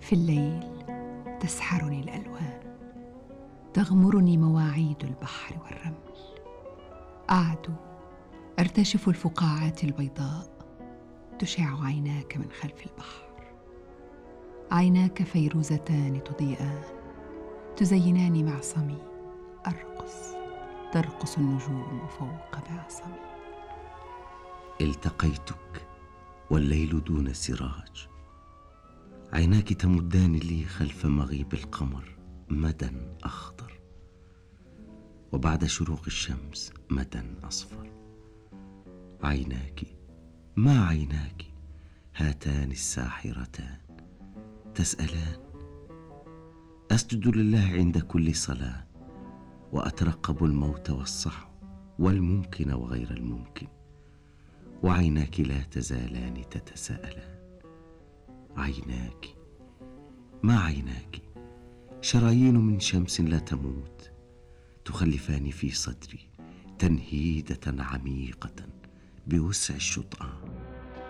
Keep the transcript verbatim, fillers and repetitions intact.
في الليل تسحرني الألوان، تغمرني مواعيد البحر والرمل. أعدو أرتشف الفقاعات البيضاء، تشع عيناك من خلف البحر. عيناك فيروزتان تضيئان، تزينان معصمي. أرقص، ترقص النجوم فوق معصمي. التقيتك والليل دون سراج، عيناك تمدان لي خلف مغيب القمر مدى أخضر، وبعد شروق الشمس مدى أصفر. عيناك ما عيناك هاتان الساحرتان تسألان. أسجد لله عند كل صلاة، وأترقب الموت والصحو والممكن وغير الممكن، وعيناك لا تزالان تتساءلان. عيناك ما عيناك شرايين من شمس لا تموت، تخلفان في صدري تنهيدة عميقة بوسع الشطآن.